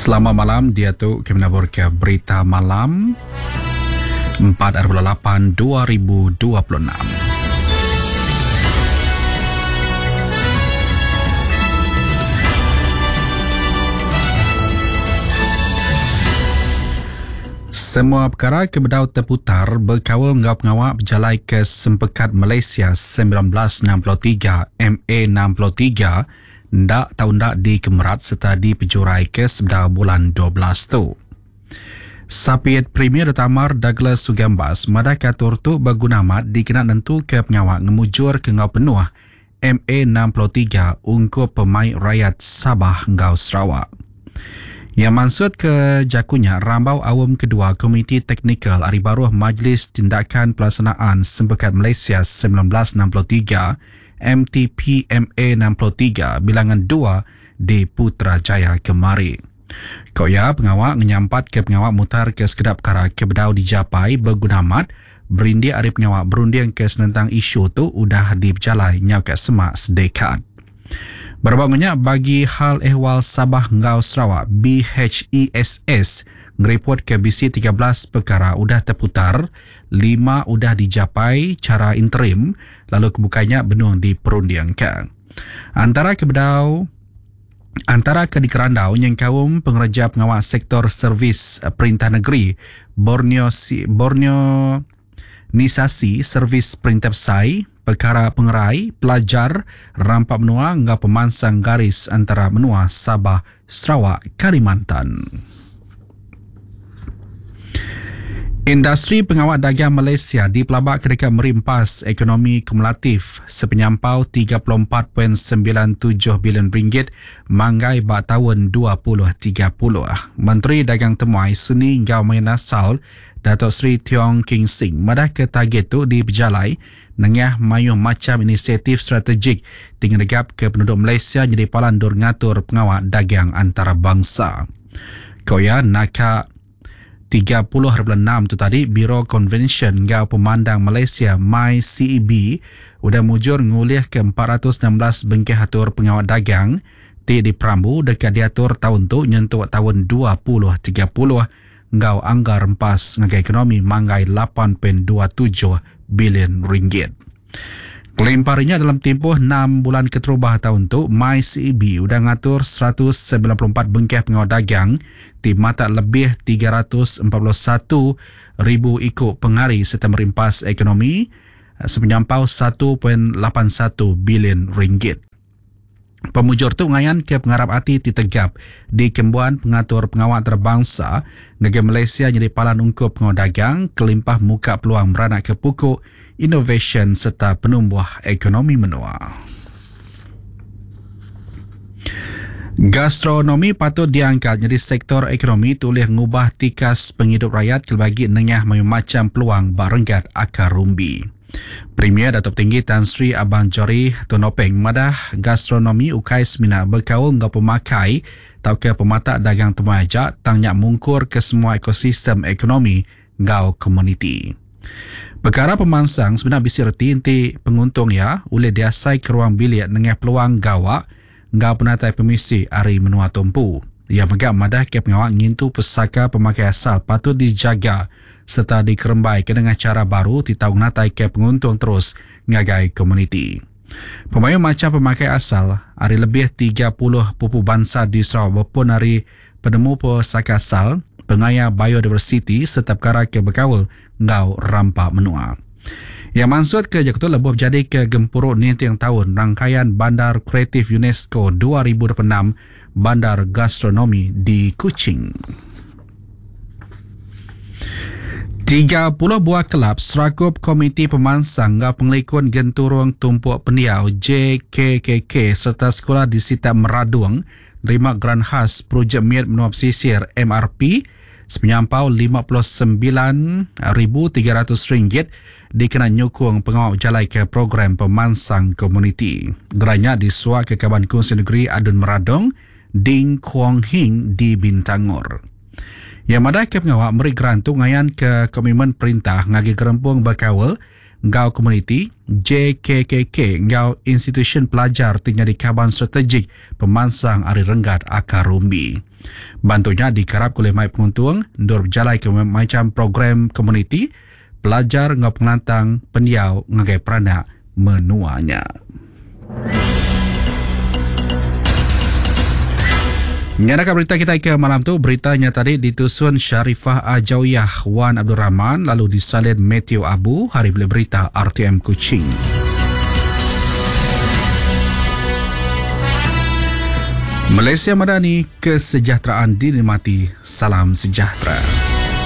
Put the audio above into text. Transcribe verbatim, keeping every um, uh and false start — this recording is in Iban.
Selamat malam, dia tu kami nabur ke berita malam empat lapan dua ribu dua puluh enam. Semua perkara kebedau terputar berkawal ngau pengawak berjalai ke Sempekat Malaysia sembilan belas enam puluh tiga M A enam puluh tiga ndak tau ndak dikemerat serta dipejurai ke sebedau bulan dua belas tu. Sapiet Premier Tamar Douglas Sugambas madah katur tu berguna amat dikena nentu ke pengawak ngemujur ke ngau penuh M A enam puluh tiga ungkup pemain rakyat Sabah ngau Sarawak. Yang maksud ke jakunya rambau awam kedua Komiti Teknikal Ari Baruh Majlis Tindakan Pelaksanaan Sempekat Malaysia sembilan belas enam puluh tiga M T P M A enam puluh tiga bilangan dua di Putrajaya kemari. Kau ya pengawak ngenyampat ke pengawak mutar ke sekedap perkara ke bedau dijapai berguna amat berindik ari pengawak berunding ke senentang isu tu udah diberjalai nyau ke semak sedekat. Berbangnya bagi hal ehwal Sabah ngau Sarawak B H E S S ngereport ke B C tiga belas perkara udah terputar, lima udah dijapai cara interim lalu kebukanya benung diperundingkan. Antara kebedau antara ke dikerandau yang kaum pengerja pengawal sektor servis perintah negeri Borneo Borneo Nisasi Servis Perintah Besai, perkara pengerai, pelajar, rampak menua ngau pemansang garis antara menua Sabah, Sarawak, Kalimantan. Industri pengawal dagang Malaysia dipelabak kedekat merimpas ekonomi kumulatif sepenyampau tiga puluh empat perpuluhan sembilan tujuh bilion ringgit manggai bak tahun dua ribu tiga puluh. Menteri Dagang Temuai Seni Ngau Main Asal Datuk Seri Tiong King Sing madah ke target tu diberjalai nengah mayuh macam inisiatif strategik tinggi negap ke penduduk Malaysia jadi palandur ngatur pengawal dagang antarabangsa. Koya naka tiga puluh perpuluhan enam tu tadi Biro Konvensyen Ngau Pemandang Malaysia M Y C E B udah mujur ngulih ke empat ratus enam belas bengkeh atur pengawal dagang ti diperambu dekat diatur tahun tu nyentuk tahun dua ribu tiga puluh ngau anggar rempas ngagai ekonomi manggai lapan perpuluhan dua tujuh bilion ringgit. Kelimparinya dalam tempoh enam bulan keterubah tahun tu, M Y C E B udah ngatur seratus sembilan puluh empat bengkeh pengawal dagang ti mata lebih tiga ratus empat puluh satu ribu ikut pengari serta merimpas ekonomi sepenyampau satu perpuluhan lapan satu bilion ringgit. Pemujur tu ngayan ke pengarap hati ti tegap di kembuan pengatur pengawal antarabangsa negeri Malaysia jadi palan ungkup pengawal dagang kelimpah muka peluang beranak ke pukuk innovation serta penumbuh ekonomi menua. Gastronomi patut diangkat jadi sektor ekonomi tulih ngubah tikas penghidup rakyat kelbagi nengah macam peluang barenggat akar rumbi. Premier Datuk Tinggi Tan Sri Abang Jori Tun Openg madah gastronomi ukai semina berkaul ngau pemakai tau ke pematak dagang temuai ajak tangnya mungkur ke semua ekosistem ekonomi ngau komuniti. Perkara pemansang sebenarnya bisi reti inti penguntung ya oleh diasai ke ruang bilik nengah peluang gawak ngau penatai permisi ari menua tumpu. Ia megak madah ke pengawak ngintu pesaka pemakai asal patut dijaga serta dikerembai ke dengan cara baru titau natai ke penguntung terus ngagai komuniti. Pemayu macam pemakai asal ari lebih tiga puluh pupu bangsa di Sarawak berpun ari penemu pesaka asal pengaya biodiversity serta perkara ke berkaul ngau rampak menua. Yang maksud ke Jakarta lebuh jadi ke gempuruk nintiang tahun rangkaian Bandar Kreatif UNESCO dua ribu dua puluh enam Bandar Gastronomi di Kuching. tiga puluh buah kelab serakup Komiti Pemansang Ngau Pengelikun Genturung Tumpuk Pendiau J K K K serta sekolah di Sita Meradung nerima geran khas projek Miat Menua Pesisir M R P sepenyampau lima puluh sembilan ribu tiga ratus ringgit dikena nyukung pengawal jalai ke program pemansang komuniti. Gerannya disuak ke Kaban Kongsi Negeri Adun Meradong, Ding Kuong Hing di Bintangor. Yang madah ke pengawal meri geran tu ngayan ke komitmen perintah ngagi gerempung berkawal enggau komuniti J K K K enggau institusyen pelajar ti nyadi kaban strategik pemansang ari renggat akar umbi. Bantu nya dikarap oleh mai penguntung endur berjalai ke macam program komuniti, pelajar enggau pengelantang pendiau ngagai peranak menuanya. Nyadaka berita kita ke malam tu, beritanya tadi ditusun Sharifah Ajawyah Wan Abdul Rahman lalu disalin Matthew Abu hari boleh berita R T M Kuching. Malaysia Madani, kesejahteraan dinikmati. Salam sejahtera.